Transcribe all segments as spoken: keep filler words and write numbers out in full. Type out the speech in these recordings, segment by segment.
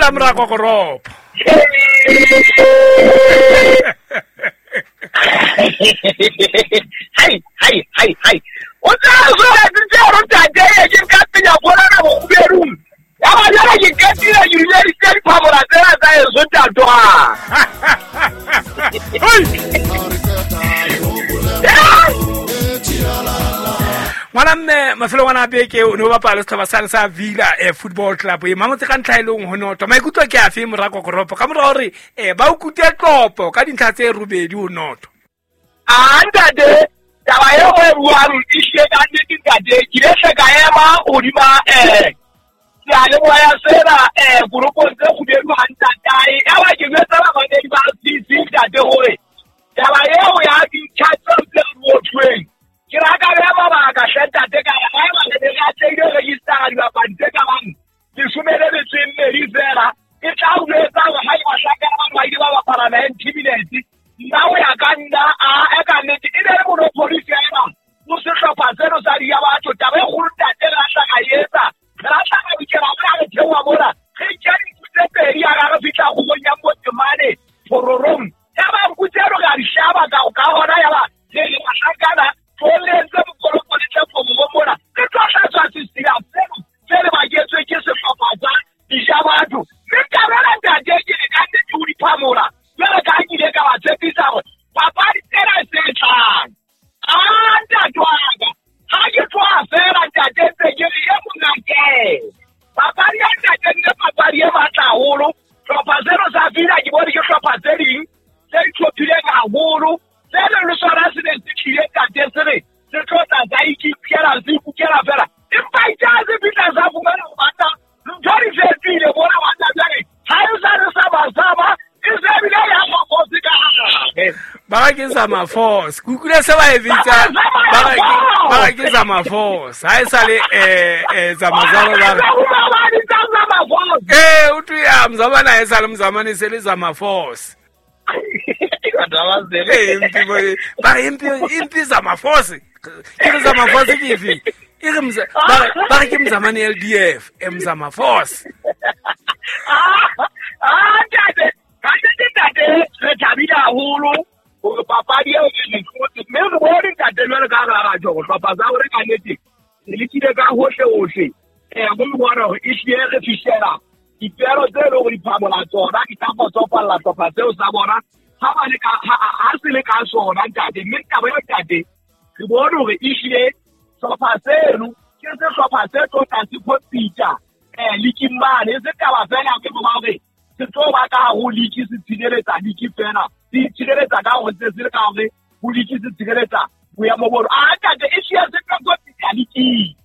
Dumela morako koropo. Hai hai hai hai. O tla zo re tse re ntate ke nka penya bona na boguberung. Ya ba jana ke katile ke rile di tse di phamola tsena tsa eso ntatwa. Ngwana mme mafelo ngwana beke o ne o bapala setlhopha sane sa Villa eh, Football Club e mamotse ka ntlha e leng ho noto. Maikutlo ke afe morako koropo ka mora hore eh ba o kute tlopo ka dintlha tse robedi ho noto? A ntate taba eo e buang e hlile ka nnete ntate ke ile hle ka ema hodima eh seyalemoya sena eh koropong tse kgubedu ha ntatae. Ya ba ke jwetsa bamamedi ba C C ntate hore taba eo ya dintlha tseo tse re bothweng ke raka beha mabaka hle ntate ka re haeba re ne re atlehile ho register-a dibapadi tse ka bang leshome le metso e mmedi fela e tla o jwetsa hore haeba hlankana bano ba ile ba bapala ninety minutes nna ho ya ka nna a e ka nnete e ne le monopoly fela ho sehlopha seno sa di ya batho. Taba e kgolo ntate re a tla ka etsa re a tla ka bikela mona re theoha mona re nkya dinku tse pedi ya ra re fihla kgorong ya Motemane Phororong ya ba nku tseno re a di hlaba ka ka hona ya ba re re bahlankana tlohelletse mokoloko le tle Phororong mona re tlo hlatswa sesila seno se le baketswe ke sehlopha sa Dijabatho. Mme taba ena ntate ke re ka nnete ho di phamola jwale ka ha ke ile ka ba tshepisa hore papadi tsena tse tlang a ntate wa ka ha ke tloha fela ntate ntse ke re e monake papadi ya ntate nne papadi e matla haholo. Hlopha seno sa Villa ke bone ke hlopha tse ding tse itlhophileng haholo se leng le sona se ne se tlile ntate se re se tlo tla sa ikikela se ikukela fela empa itse ha se fihla sa fumana ho banna ntho di fetohile bona banna jwale ha e sa re sa ba saba e se bile ya mafosi ka hare. Ba re ke sa maforce ke utlwile se ba e bitsa ba re ke ba re ke sa maforce ha e sa le eh eh zamazalo ba re eh o twe ya mzamana ha e sa le mzamane se le zamaforce. Eh impi ba re impi impi zamaforce ke re zamaforce ke efe e re mza ba re ba re ke mzamane L D F e mzamaforce. Ah ntate ka nnete ntate re thabile haholo hore papadi eo e hlotse mme re bone ntate jwale ka hara batho hore hlopha sa hore ka nnete re lekile ka hohle hohle eh go bona hore e hlile re fihlela dipero tse leng hore di phamola tsona di tla kgotsofalla hlopha seo sa bona ha ba le ka ha se le ka sona ntate. Mme taba eo ntate re bone hore e hlile hlopha seno ke sehlopha se tlo tla se compete eh league mane e se taba fela ke bo hore se tlo ba ka ho league se tshireletsa league fela se tshireletsa ka hore se se ka hore ho league se tshireletsa boemo bo a ntate e hlile se tlo compete league.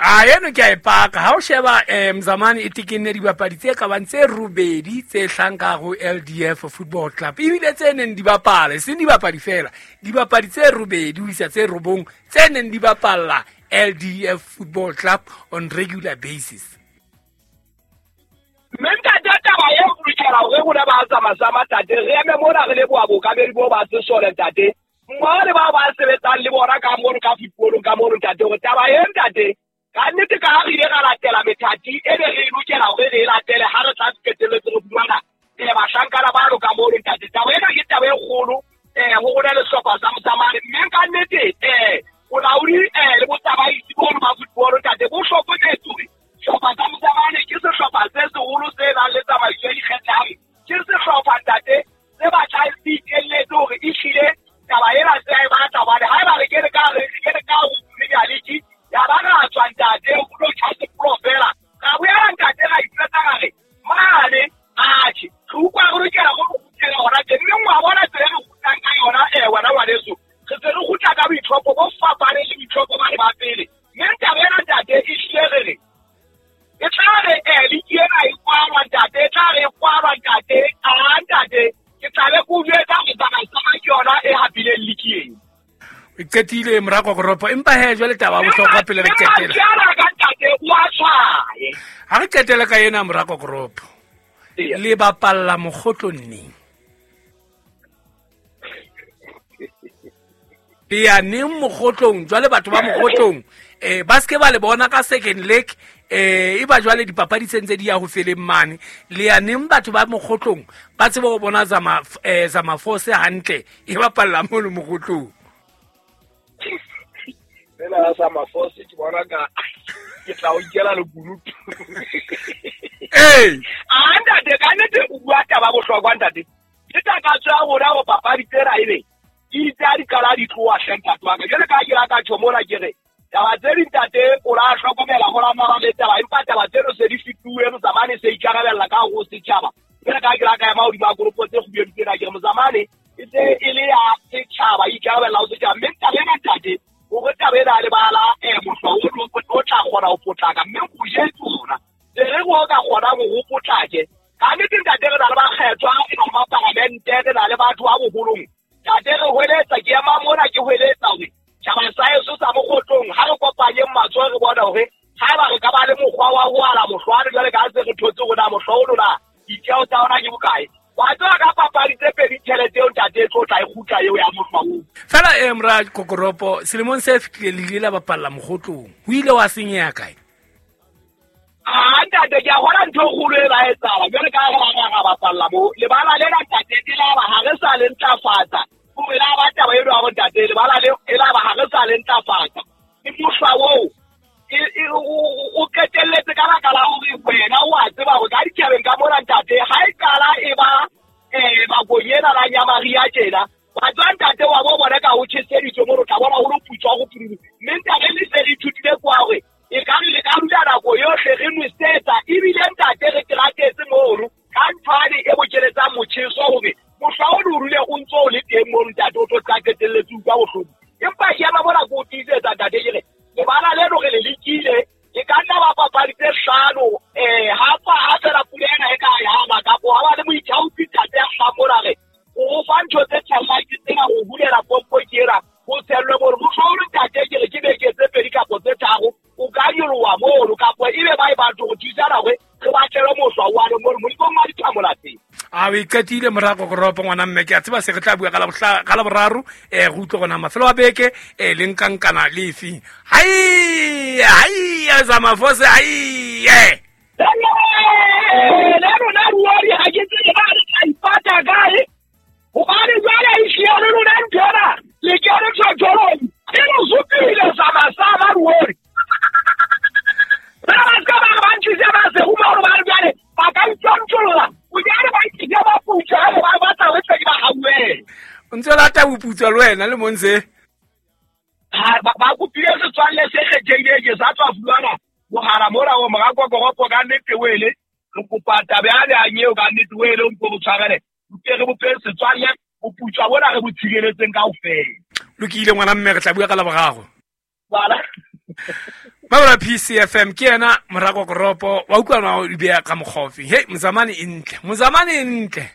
A eno ke a e paka ha o sheba eh mzamane e tekenne dibapadi tse ka bang tse robedi tse hlang ka ho L D F Football Club ebile tse neng di bapala e seng dibapadi fela dibapadi tse robedi ho isa tse robong tse neng di bapalla L D F Football Club on regular basis. Mme ntate taba eo re lokela hore rona ba tsamasama ntate re eme mona re leboha bookamedi bo ba sesole ntate mmoho le bao ba sebetsang le bona ka mono ka footballong ka mono ntate hore taba e ntate ka nnete ka ha re ile ra latela methati e be re lokela hore re e latele ha re tla qetelletse re fumana eh bahlankana ba ka mono ntate. Taba ena ke taba e kgolo eh ho rona le sehlopha sa Motsamane mme ka nnete eh bolaodi eh le botsamaisi bono ba football ntate bo hlokometse hore sehlopha sa Motsamane ke sehlopha se seholo se nang le tsamaiso e ikgethang ke sehlopha ntate se batlang se ikelletse hore e hlile taba ena se a e batla hobane haeba re kene ka re kene ka ho Premier League ya ba ra tswa ntate o tlo tjha sepolo fela ra boela ntate ra iphetsa ra re mane atjhe re utlwa re lokela go kgutlela hona teng mme wa bona tsela e re kgutlang ka yona eh wena ngwaneso re se re kgutla ka boitlhopho bo fapaneng le boitlhopho ba ba pele mme taba ena ntate e hlile re re e tla re eh league ena e kwalwa ntate e tla re e kwalwa ntate a ntate ke tla be ke o jwetsa hore tsamaisano ke yona e hapileng league ena. E qetile morako koropo empa he jwale taba ya bohlokwa pele re qetela ha re qetela ka ena morako koropo le bapalla mokgotlong neng le ya neng mokgotlong jwale batho ba mokgotlong um ba seke ba le bona ka second leg um e ba jwale dipapadi tse ntse di ya ho feleng mane le ya neng batho ba mokgotlong ba tsebe go bona Zama um Zama Force hantle e bapalla mono mokgotlong. Fela Zama Force ke bona ka ke tla o ikela lekunutu. Ee a ntate ka nnete o bua taba bohlokwa ntate. Ke takatso ya rona ho papadi tsena ebe ke itse ha di qala di tloha hle ntate wa ka. Jwale ka ha ke la ka tjho mona ke re taba tse ding ntate o la hlokomela ho la mara le taba, empa taba tseno se di fetuwe mozamane se ikarabella ka hare ho setjhaba. Jwale ka ha ke la ka ema hodima koropo tse kgubedu tsena ke re mozamane e se e le ya setjhaba, e ikarabella ho setjhaba. Mme taba ena ntate hore taba ena ya lebala um mohlwa o tla kgona ho potlaka, mme o jetse rona se re o ka kgonang hore o potlake. Ka nnete ntate re na le bakgethwa, re na le mapalamente, re na le batho ba boholong. Ntate re hweletsa, ke ema mona ke hweletsa hore tjhaba sa heso sa mokgotlong ha re kopanyeng matsoho re bone hore haeba re ka ba le mokgwa wa ho ala mohlwane jwale ka ha se re thotse hore na mohlwa ono na ditjeho tsa ona ke bokae. Wa tseba ka papadi tse pedi tjhelete eo ntate e tlo tla e kgutla eo ya mohlwa oo. Fela eh mora Kokoropo selemong se fetileng le ile la bapalla mokgotlong, ho ile wa senyeha kae? Ah ntate ke a bona ntho e kgolo e ba etsahala jwale ka ha re ra bapalla moo lebala lena ntate e la ba ha re sa le ntlafatsa. E la ba taba eno ya hore ntate lebala le e la ba ha re sa le ntlafatsa. Ke mohlwa oo o qetelletse ka baka la hore wena o a tseba hore ka ditjhabeng ka mona ntate ha e qala e ba um nakong ena la nyamaria tjena wa tswa ntate wa bo bona ka ho tjheseditswe mo re tla bona ho lo putswa go pudu. Mme ntate le se re ithutile kwa hore e ka re le ka dula nako yohle re nwesetsa ebile ntate re keratetse mono ka nthwane e bokeletsang motjheso hore mohlwa o ne o dule o ntso o le teng mono ntate o tlo tla qetelletse utlwa bohloko. Empa ke ema mona ke o tiisetsa ntate ke re lebala leno re le lekile e ka nna ba papadi tse hlano um ha ha fela pula ena e ka yama kapo ha ba le moithaopi ntate ya hlahang mona re o fa ntho tse tjhellang ke tsena ho hulela pompo ke ena ho tshellwe mono. Mohlwa o le ntate ke re ke beke tse pedi kapo tse tharo o ka nyoloha mono kapo ebe ba e batho ho thusana hore re batlelwe mohlwa one mono Modimo wa dithamola teng. A o iqetile mora Kokoropo ngwana mme ke a tseba se re tla bua ka la boraro um re utlwe gona mafelo a beke um le nkankana le efeng. Hai hai Zama Force hai le rona ruori ha ke tsebe ba re tla ipata kae hobane jwale e hlile le lona ntho ena le kene tjhotjholong e re supile Zama sama ruori. Ba ba ska ba ba ntshise ba se huma hore ba re jwale ba ka ntjontjolla o jare ba ntshise ba putswa ha ba batla re tle ba hauwe. O ntse o lata boputswa le wena le montse ha ba kopile setswalle se kgethehileng ke sa tswa fulana mogala mona o mora Kokoropo ka nnete wele re kopa taba yane ya nyeo ka nnete wele o mpo bo tshwarele mpe re bope setswalle boputswa bona re bo tshireletseng kaofela. Lokile ngwana mme re tla bua ka la boraro. Bala Mabala P C F M ke yena mora Kokoropo wa utlwa o di beya ka mokgofi. Hey mozamane e ntle, mozamane e ntle.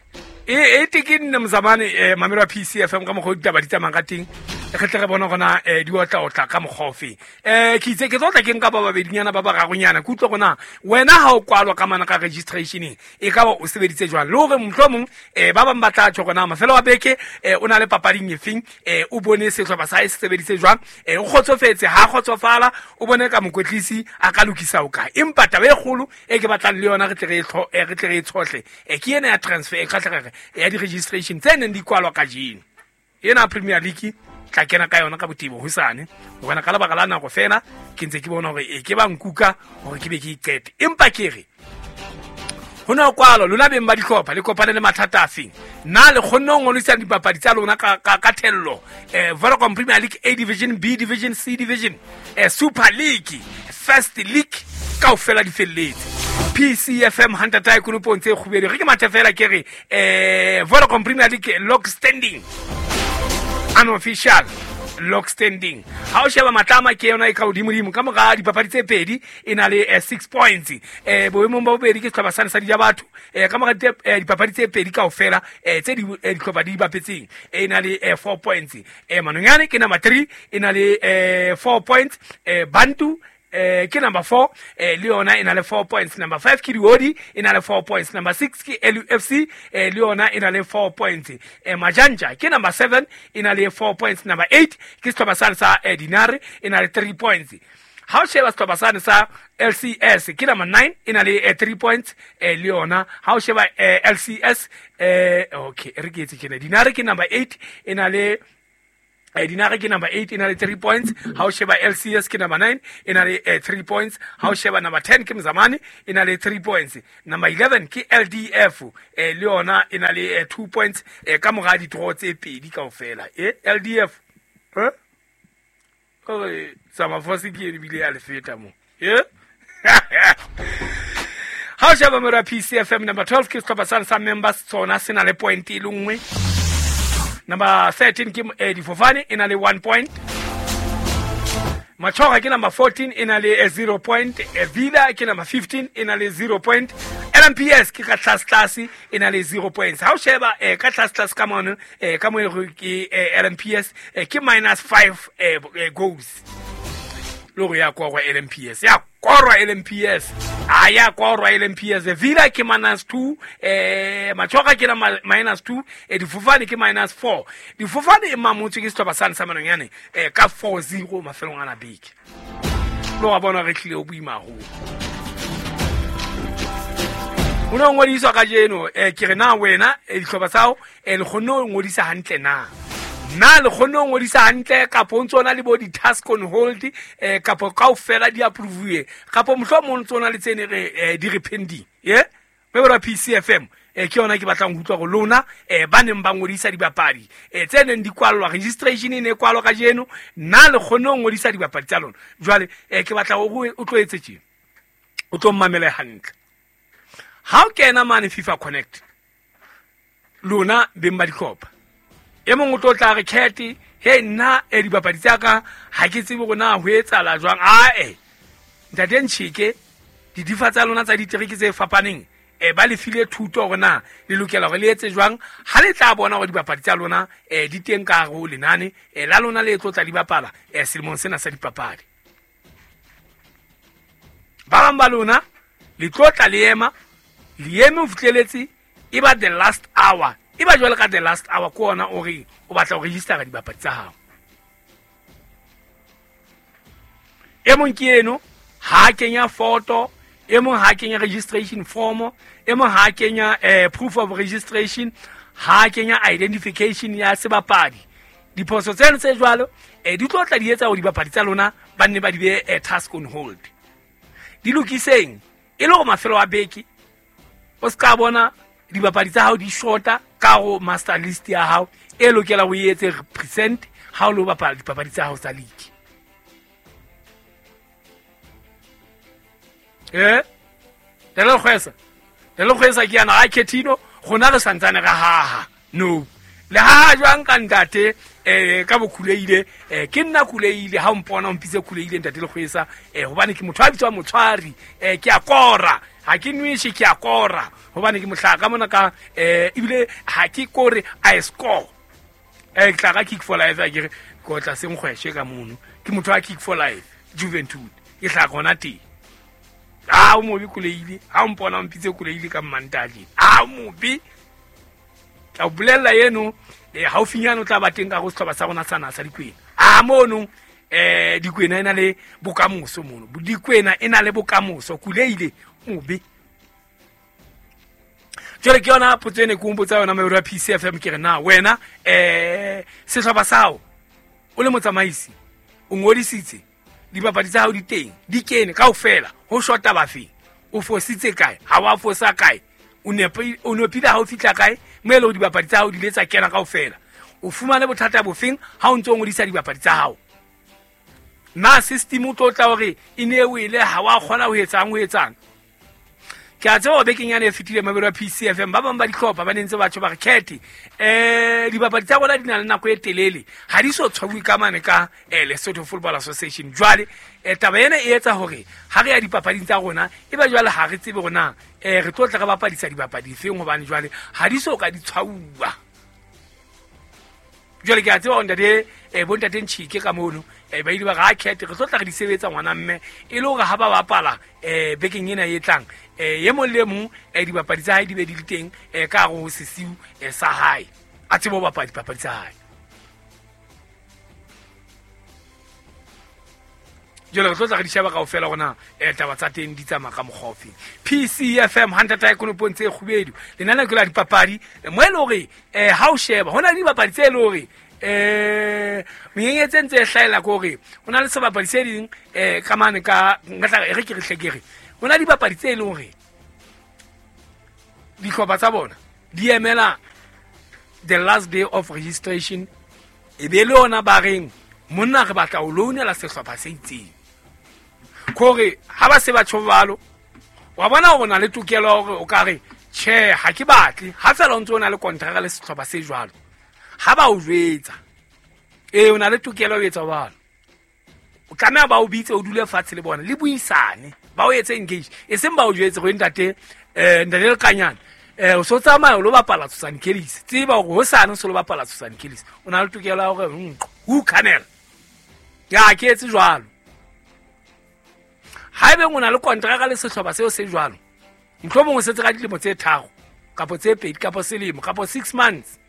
E e ke nne mozamane eh mamelo wa P C F M ka mokgwa ditaba di tsamayang ka teng. Re tle re bona gona eh di otla otla ka mokgofi. Eh ke itse ke tlo tla ke nka ba babedinyana ba bararonyana ke utlwa gona wena ha o kwalwa ka mana ka registration e ka ba o sebeditse jwang le hore mohlomong eh ba bang ba tla tjho gona mafelo wa beke eh o na le papading efeng eh o bone sehlopha sa hae se sebeditse jwang eh o kgotsofetse ha kgotsofala o bone ka mokwetlisi a ka lokisa o kae. Empa taba e kgolo e ke batlang le yona re tle re re tle re e tshohle eh ke ena ya transfer e kgahlegere ya di-registration tse neng di kwalwa kajeno. Ena Premier League tla kena ka yona ka botebo hosane hobane ka lebaka la nako fela ke ntse ke bona hore e ke ba nkuka hore ke be ke iqete. Empa ke re ho no kwalo lona beng ba dihlopha le kopane le mathata a feng na le kgonne ho ngodisa dipapadi tsa lona ka ka, ka thello eh Vodacom Premier League A Division, B Division, C Division, eh Super League, First League kaofela di felletse. P C F M hantata e konopong tse kgubedu re ke mathe fela ke re eh Vodacom Premier League log standing unofficial log standing. Ha o sheba Matlama ke yona e ka hodimodimo ka mora dipapadi tse pedi e na le eh, six points. Eh boemong ba bobedi ke sehlopha sane sa Dija Batho eh ka mora dipapadi tse pedi kaofela eh tse di dihlopha di bapetseng e na le eh, four points. Eh Manonyane ke number three e na le eh, four points. Eh Bantu eh ke number four eh le yona e na le four points. Number five ke Diodi e na le four points. Number six ke L U F C eh le yona e na le four points. Eh Majanja ke number seven e na le four points. Number eight ke sehlopha sa sa eh, Dinare e na le three points. Ha o sheba sehlopha sane sa L C S ke number nine e na le three points le yona. Ha o sheba L C S eh okay re ke etse tjena. Dinare ke number eight e na le Dinare ke number eight e na le three points. Ha o sheba L C S ke number nine e na le three points. Ha o sheba number ten ke Mzamani e na le three points. Number eleven ke L D F le yona e na le two points ka mora di draw tse pedi kaofela. Eh L D F eh ore Samafosi ke e bile ya le feta mo. Eh ha o sheba mora P C F M number twelve ke sehlopha sa sa members tsona se na le point e le nngwe. Number thirteen ke eh, Difofane e na le one point. Machoga ke number fourteen e na le zero point. Villa ke number fifteen e na le zero point. L M P S ke ka tlase tlase e na le zero points. Ha o sheba eh, ka tlase tlase ka mono eh, ka mo ke eh, L M P S eh, ke minus five eh, eh, goals. Loro ya korwa L M P S. Ya korwa L M P S. A ya korwa L M P S. Villa ke minus two, eh Machoga ke na minus two, eh Difofane ke minus four. Difofane e mamotswe ke sehlopha sa sa Manonyane eh ka four zero mafelong ana beke. Lo wa bona re tlile o boima haholo. O no ngodiswa kajeno eh ke re na wena dihlopha tsa hao eh le kgonne ho ngodisa hantle na? Na le kgonne ho ngodisa hantle kapo ntse ona le bo di-task on hold eh kapo kaofela di approve kapo mohlomong ntse ona le tsene re di re pending ye me bora P C F M eh ke yona ke batlang ho utlwa go lona eh ba neng ba ngodisa dibapadi eh tse neng di kwallwa registration e ne kwalwa kajeno na le kgonne ho ngodisa dibapadi tsa lona jwale eh ke batla o o tlo etse tje o tlo mmamele hantle. Ha o kena mane FIFA Connect lona beng ba dihlopha e mong o tlo tla re khethe he nna e dibapadi tsa ka ha ke tsebe hore na ho etsahala jwang. Ae ntate Ntshike didifa tsa lona tsa ditereke tse fapaneng e ba le file thuto hore na le lokela hore le etse jwang ha le tla bona hore dibapadi tsa lona e di teng ka hare ho lenane e la lona le tlo tla di bapala e selemong sena sa dipapadi. Ba bang ba lona le tlo tla le ema le eme ho fihleletse e ba the last hour e ba jwale ka the last hour ko ona o re o batla ho register dibapadi tsa hao. E mong ke eno ha kenya photo, e mong ha kenya registration form, e mong ha kenya eh, proof of registration, ha kenya identification ya sebapadi. Diphoso tseno tse jwalo eh, di tlo tla di etsa hore dibapadi tsa lona ba nne ba di be eh, task on hold. Di lokiseng e le hore mafelo a beke o ska bona dibapadi tsa hao di shorta ka ho master list ya hao e lokela ho etse represent ha o lo bapala dipapadi tsa hao tsa league. Eh le kgwesa le kgwesa ke yana ha Ketino rona re santsane ra haha no le ha jwang ka ntate eh ka bokhuleile eh ke nna khuleile ha o mpona o mpitse khuleile ntate le kgwesa eh hobane ke motho a bitswa motshwari eh ke a kora ha ke nwishe ke a kora hobane ke mohlaka mona ka eh ebile ha ke kore I score eh ke tla ka kick for life a ke re ko tla se nkgweshe ka mono ke motho a kick for life Juventud ke tla gona teng. A o mobe kuleile ha o mpona o mpitse kuleile ka mmantale a o mobe tla o bolella eno eh haufinyane o tla ba teng ka go sehlopha sa rona sa na sa Dikwena a mono eh Dikwena ena le bokamoso mono Dikwena ena le bokamoso kuleile mobe. Jwale ke yona potso ene ke o mpotsa yona Mauro P C F M ke re na wena eh sehlopha sa hao o le motsamaisi o ngodisitse dibapadi tsa hao di teng di kene kaofela ho shota bafeng o fositse kae ha wa fosa kae o nepile o nepile ha o fitla kae mo ele dibapadi tsa hao di letsa kena kaofela o fumane bothata bofeng ha o ntse o ngodisa dibapadi tsa hao na system o tlo tla hore e ne o ile ha wa kgona ho etsang ho etsang. Ke a tseba bekeng yana e fetile mabelo a P C F M ba bang ba dihlopha ba nentse batho ba re khethe eh dibapadi tsa bona di na le nako e telele ha di so tshwauwe ka mane ka eh Lesotho Football Association jwale eh taba ena e etsa hore ha re ya dipapading tsa rona e ba jwale ha re tsebe rona eh re tlo tla re bapadisa dibapadi feng hobane jwale ha di so ka di tshwauwa. Jwale ke a tseba hore ntate eh bontate Ntshike ka mono eh ba ile ba ra khethe re tlo tla re di sebetsa ngwana mme e le hore ha ba bapala eh bekeng ena e tlang eh e mong le mong eh dibapadi tsa hae di be di le teng eh ka hare ho sesiu eh sa hae a tsebe ho bapala dipapadi tsa hae. Jwale re tlo tla re di sheba kaofela hore na eh taba tsa teng di tsamaya ka mokgwa ofe. P C F M hantata ya konopong tse kgubedu. Lenaneo ke la dipapadi mo e le hore eh ha o sheba hona le dibapadi tse le hore eh menyenyetsi e ntse e hlahela ke hore ho na le sebapadi se ding eh ka mane ka nka tla re ke re hle ke re ho na le dibapadi tse leng hore dihlopha tsa bona di emela the last day of registration e be le yona ba reng monna re batla ho loanela sehlopha se itseng. Kore ha ba se ba tjho jwalo wa bona hore o na le tokelo ya hore o ka re tjhe ha ke batle ha fela o ntse o na le kontraka le sehlopha se jwalo. Ha ba o jwetsa ee o na le tokelo ya ho etsa jwalo, o tlameha ba o bitse o dule fatshe le bona le buisane ba o etse engage, e seng ba o jwetse hore ntate eh ntate Lekanyane eh o so tsamaya o lo bapala Tshosane Kellis, tseba hore hosane o so lo bapala Tshosane Kellis, o na le tokelo ya hore who canel ya ke etse jwalo. Haebe o na le kontraka le sehlopha seo se jwalo, mohlomong o setse ka dilemo tse tharo kapo tse pedi kapo selemo kapo six months,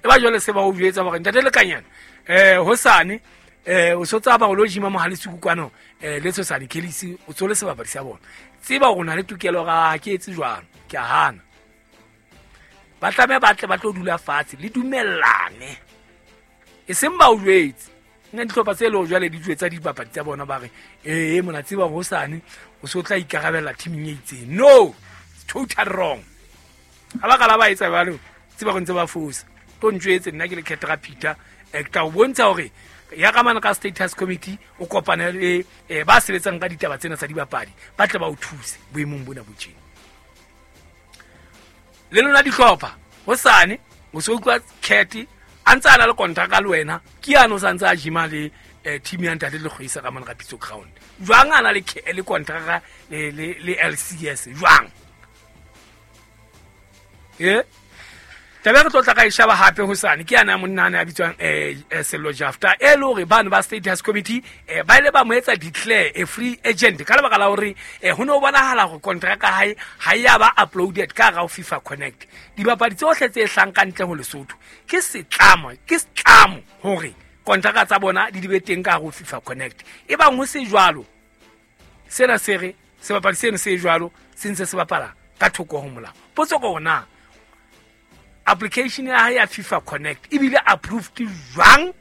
e ba jwale se ba o jwetsa hore ntate Lekanyane eh hosane eh o so tsaba o lo jima mohale sekukwano eh le Tshosane Kellis o tsole sebapadi sa bona, tseba hore o na le tokelo ga ke etse jwalo, ke a hana. Ba tlameha ba tle ba tlo dula fatshe le dumellane, e seng ba o jwetse. Nna dihlopha tse leng jwale di jwetsa dibapadi tsa bona ba re ee mona tseba hosane o so tla ikarabella teaming e itseng. No, it's total wrong. Ha ba kala ba etsa jwalo tseba go ntse ba fosa. Tlo ntjwetse nna ke le Ketra Peter eh ke tla o bontsha hore ya ka mane ka status committee o kopane le eh ba sebetsang ka ditaba tsena tsa dibapadi ba tle ba o thuse boemong bona bo tjena. Le lona dihlopha hosane o so utlwa Cat a ntse a na le kontraka le wena ke yane o sa ntse a jima le team ya ntate le kgoisa ka mane ka Pitso Ground. Jwang a na le le kontraka le le L C S jwang? Eh taba re tlo tla ka e sheba hape hosane ke yana monna ana ya bitswang eh Sello Jafta e le hore bano ba status committee eh ba ile ba mo etsa declare a free agent ka lebaka la hore eh ho no bonahala hore kontraka hae ha ya ba uploaded ka hara FIFA Connect. Dibapadi tsohle tse hlang ka ntle ho Lesotho ke setlamo ke setlamo hore kontraka tsa bona di be teng ka hara FIFA Connect. E bang ho se jwalo sena se re sebapadi seno se jwalo se ntse se bapala ka thoko ho molao. Potso ke hore na application ya hae ya FIFA Connect ebile approved jwang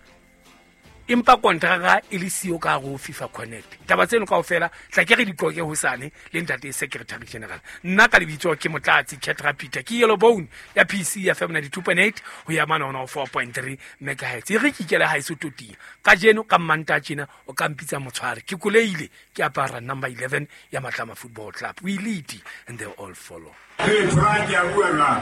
empa kontraka e le siyo ka hare ho FIFA Connect. Taba tseno kaofela tla ke re di qoke hosane le ntate Secretary General. Nna ka lebitso ke Motlatsi Ketra Peter ke Yellow Bone ya P C F M ninety-two point eight ho ya mane hona ho four point three megahertz. E re ke ikele haeso toting kajeno ka Mmantaha tjena o ka mpitsa motshware ke koleile ke apara number eleven ya Matlama Football Club. We lead and they all follow. Hey, Frank, ya bua jwang?